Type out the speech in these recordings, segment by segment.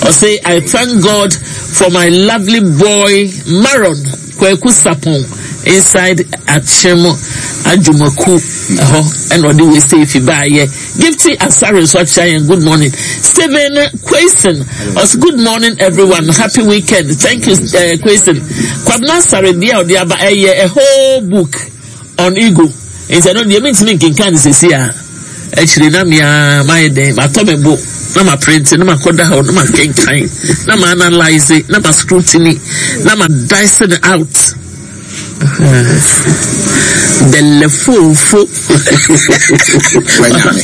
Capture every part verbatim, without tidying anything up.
Ɔse, "I thank God for my lovely boy Maron Kwaku Sapon inside Akyem Adwumaku ɛhɔ." Ɛna ɔde wei sɛ efi baayɛ. Gifty Asare nso akyerɛ yɛn good morning. Stephen Kwayson ɔse, "Good morning everyone, happy weekend." Thank you, uh, Kwayson. Kwabena Asare deɛ a ɔde aba ɛyɛ a whole book on ego, nti ɛno deɛ mentumi nkenkan ne sɛsi a akyire na mea mayɛ dɛn, matɔ me bo na ma print na ma kɔda hɔ na ma kenkan na ma analyse na ma scrutiny na ma dice it out. Bɛlɛfofo. Wanyame.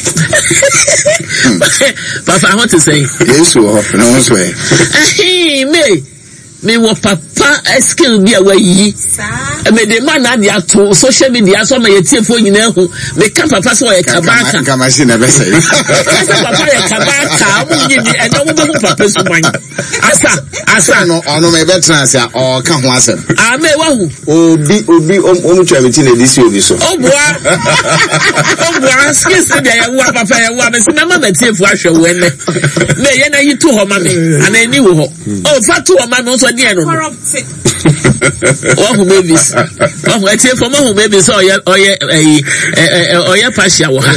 Papa, ho te sɛn? Yesu wɔ hɔ na wo nso ɛ? Ɛhee, me mewɔ papa eh, skill bi a wayi mede ma na ade ato social media so ama yɛtiefoɔ nyinaa hu. Meka papa sɛ ɔyɛ kabaaka. Nka machine na ɛbɛsɛe. Kasa papa yɛ kabaaka, ɔmo nyi ni ɛnna ɔmo bɛhu papa suban asa asa. Ɔno ɔno ma ɛbɛtena ase a ɔɔka ho asɛm. Ame wahu. Obi obi ɔmu twa mi ti na edi si obi so. Ɔboa, ɔboa. Skills ni deɛ yɛwoa papa, yɛwoa. Mesi mɛma mɛtiefoɔ ahwɛ wo ɛnɛ mɛ yɛn ayi to hɔ ma me ana ani wɔ hɔ ɔ fa to hɔ ma me nso deɛ no no wahu Mavis, wahu atiefoɔ, mahu Mavis sɛ ɔyɛ ɔyɛ ɛyi ɛ ɛ ɔyɛ pahyia wɔ ha.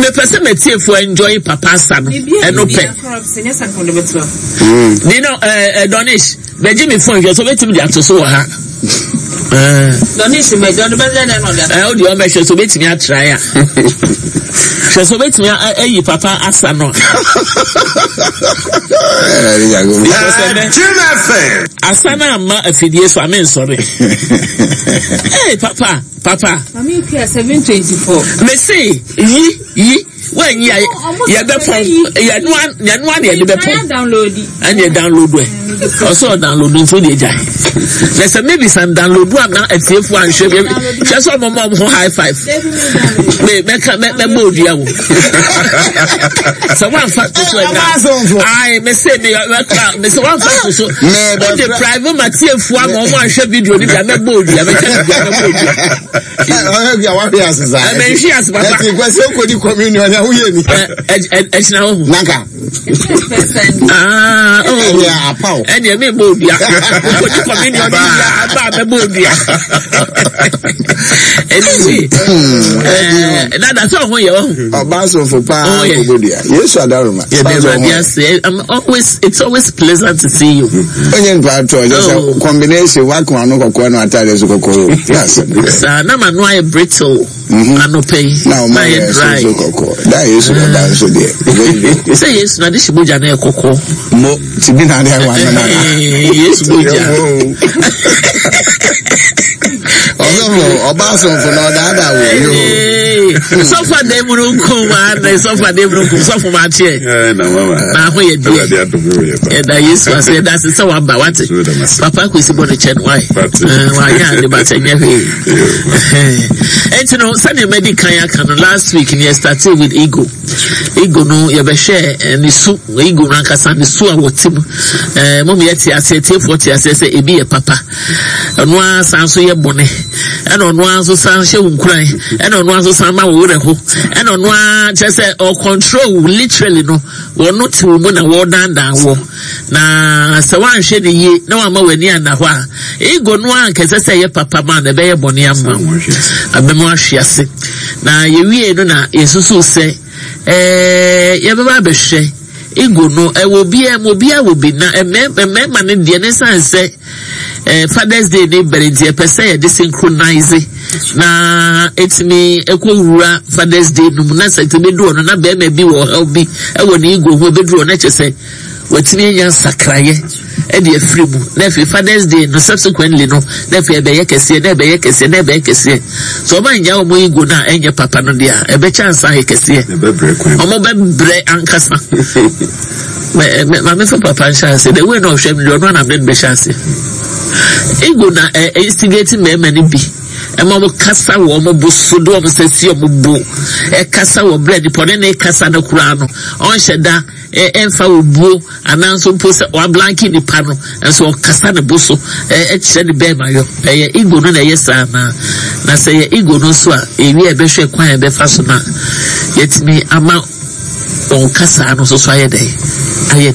Mepɛ sɛ mɛtiefoɔ enjoy papa asa no, ɛno pɛ nina. ɛɛ ɛ Donish bɛgye mi phone hwɛ so obetumi de ato so wɔ ha. Donish mɛjọ ní bẹ́ẹ̀ lẹ́nu ọ̀dà. Ɛ o deɛ ɔbɛhwɛ so obetumi atra ya, hwɛ so obetumi ayi papa asa no. Because ɛnɛ Jim F M. Asa no ama afidie so ame nsɔre. Ee, papa, papa. Mami Okua seven twenty four. Mese yi yi wɔnyi a yɛbɛpɔn, yɛnoa yɛnoa na yɛde bɛpɔn. Download. Ɛna yɛ download ɛ, ɔsɛ ɔdownload nso de gya na sɛ maybe san download a na atiefo anhwɛ bi hwɛ sɛ ɔmo ma ɔmo ho high five. Me mɛka mɛ mɛbɔ odua wo sɛ wanfa to so ɛna ayi mɛ se me mɛka mɛ sɛ wanfa to so o de private ma tiefo ama ɔmo anhwɛ video ni bi a, mɛbɔ odua, mɛka bi a, mɛbɔ odua. Ɔyɛ bi a wahwe ase saa. Ɛmɛ nhwi ase, papa. Ɛti kwasi okodi communion na woyɛ ni. Ɛ ɛ ɛkyina hɔ. Nanka. Ah, oh. Ɛnìyɛ apaw. Ɛnìyɛ mi bɔ odua okodi communion ni bi a aba a, mɛbɔ odua. Anyway, ɛɛ dada sɛ ɔho yɛ ɔho. Ɔbaa sɔfo paa. Oh, yeah. Kɔbɔdua. Yesu adaroma. Yɛde Awurade ase. I'm always it's always pleasant to see you. Onye nipa atɔ ɔjɛ sɛ Oh. combination wakun ano kɔkɔɔ na ataade so kɔkɔɔ o. Yà sɛ. Saa na ma no ayɛ brittle anɔpɛ yi. Na ɔmo na ayɛ ayɛ dry. soso kɔkɔɔ. Da Yesu bɛba nso deɛ. Sɛ Yesu na de hyɛ mogya na yɛ kɔkɔɔ. Mo ti bi na ade awa ano na. Yesu mogya. Ɔsɔfo, ɔbaa sɔfo na ɔdaadaa wɔ yi o. Sɔfo adan mu no nkum ana, sɔfo adan mu no nkum, sɔfo ma ateɛ. Eh, na mama. Na ho yɛ deɛ. Awurade adom yɛ yɛ pa. Yɛda Yesu ase, yɛda ase sɛ waba wate. So yɛda ase. Papa Kwesi bɔ ne kyɛ no wae. Wate. Wanyɛ ade bata nyɛ hwee. Ɛnti no sɛdeɛ madi kan aka no, last week no yɛ started with ego. Ego no yɛbɛhwɛ eh, ne su, ego no ankasa ne su a wɔte mu. Eh, mom yɛte aseɛ, tiefoɔ te aseɛ sɛ ebi yɛ papa, ɔno ara san so yɛ bɔne, ɛna ɔno ara nso san hyɛ wo nkuran, ɛna ɔno ara nso san ma wo werɛ ho, ɛna ɔno ara kyerɛ sɛ ɔcontrol wo literally no. Wɔno te wo mu na wɔdandan wɔ, na sɛ woanhwɛ ne yie na wama w'ani anna hɔ a, ego no a nkɛsɛ sɛ ɛyɛ papa ma na ɛbɛyɛ bɔne ama wo, abɛma ahwe ase. Na yɛwie no na yɛsusu sɛ ɛɛ yɛbɛba abɛhwɛ ego no ɛwɔ obiara mu, obiara wɔ bi, na mmarima no deɛ ne san sɛ ɛɛ Father's Day ne bɛrɛ, nti yɛpɛ sɛ yɛde synchronize na etumi ɛkɔ Father's Day no mu, na sɛ ɛtumi du hɔ no na bɛrima bi wɔ ɔhaw bi ɛwɔ ne ego ho, ebɛduru hɔ na kyerɛ sɛ watumi anya nsakraeɛ ɛde afiri mu, na afei Father's Day no subsequently no na afei ɛbɛyɛ kɛseɛ na ɛbɛyɛ kɛseɛ na ɛbɛyɛ kɛseɛ. So ɔmo anya ɔmo ego no a ɛnyɛ papa no deɛ a, ɛbɛkyɛ ansa ayɛ kɛseɛ. Ɛbɛbrɛ kwan. Ɔmo bɛbrɛ ankasa. Mɛ mɛ maame fa papa nhyɛ ase the way na ɔhwɛ mi deɛ, ɔno anam de no bɛhyɛ ase. Ego na ɛ instigate mmarima no bi ɛma ɔmo kasa wɔ ɔmo bo so, de ɔmo nsa si ɔmo bo ɛkasa wɔ brɛ nipa ɔne ne kasa no koraa no, ɔnhyɛ da ɛ ɛnfa obuo anaa nso mpo sɛ wablanke nipa no nso, ɔkasa ne bo so ɛ ɛkyerɛ ne bɛrima yɔ. Ɛyɛ ego no na ɛyɛ saa na na sɛ yɛ ego no nso a, ewi a ɛbɛhwɛ kwan a ɛbɛfa so na yɛtumi ama wɔn kasa no nso so ayɛ dɛ ayɛ